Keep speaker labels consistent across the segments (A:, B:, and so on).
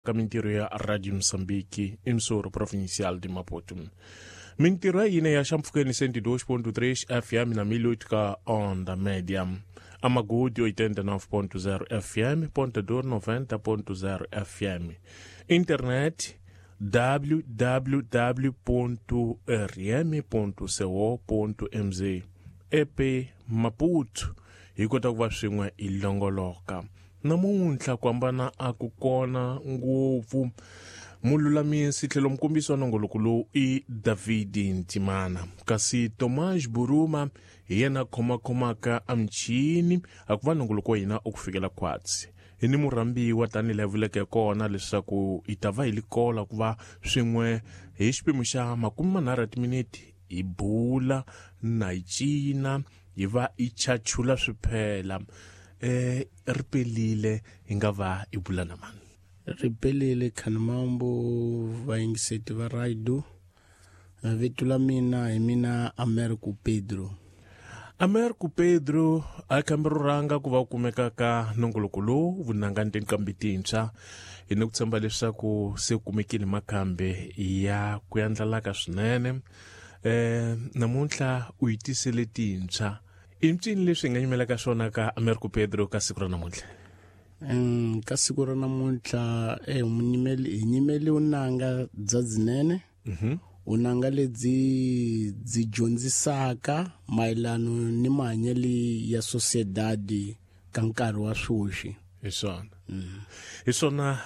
A: Ka mintirho ya Radio Mozambique, emissora provincial de Maputo. Mintirho ya hina ya xampfhukeni 102.3 FM na 1008 ka onda média. Amagudi 89.0 FM, Ponta Dor 90.0 FM. Internet www.rm.co.mz. EP Maputo hi kota ku va swin'we hi longoloka. Namuntlha ku hambana a ku kona ngopfu. Mululamisi tlhelo mukombisi wa nongoloko lowu i David Ntimana, kasi Tomas Buruma hi yena khomakhomaka a michini a ku va nongoloko wa hina u ku fikela khwatsi. Hi ni murhambiwa tanihi laha vuleke kona leswaku hi ta va hi likola ku va swin'we hi xiphemu xa 30 ya timinete hi bula na hi cina hi va hi chachula swiphela. Ri pelile hi nga va hi bula na mani?
B: Ri pelile Khanimambo, vayingiseti va radio. Vito la mina hi mina Americo Pedro.
A: Americo Pedro a khambi ro rhanga ku va u kumeka ka nongoloko lowu vunanga ni tinqambi tintshwa. Hi ni ku tshemba leswaku se kumekile makhambi ya ku yandlalaka swinene. Namuntlha u yi tisele tintshwa. I mpfini leswi hi nga nyimelaka swona ka Americo Pedro ka siku ra namuntlha?
B: Ka siku ra namuntlha hi nyimeli vunanga bya byinene. Vunanga lebyi byi dyondzisaka mayelana ni mahanyelo ya sociedad ka nkarhi wa sweswi.
A: Hi swona. Hi swona,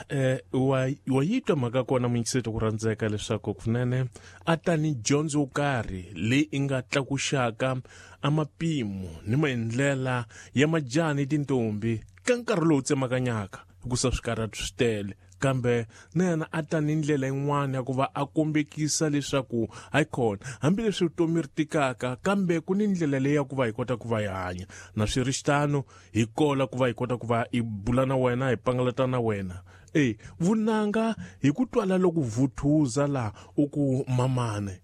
A: wa yi twa mhaka kona muyingiseti ku rhandzeka leswaku kunene a ta ni dyondzo yo karhi leyi i nga tlakuxaka a mapimo ni maendlela ya majaha ni tintombi ka nkarhi lowu tsemakanyaka hikusa swikarhati swi tele, kambe na yena a ta ni ndlela yin'wana ya ku va a kombekisa leswaku hayikhona hambileswi vutomi ri tikaka kambe ku ni ndlela leyi ya ku va hi kota ku va hi hanya na swi ri xitano hi kola ku va hi kota ku va hi bula na wena hi pangalata na wena. Vunanga hi ku twala loko vuthuza laha u ku mamane.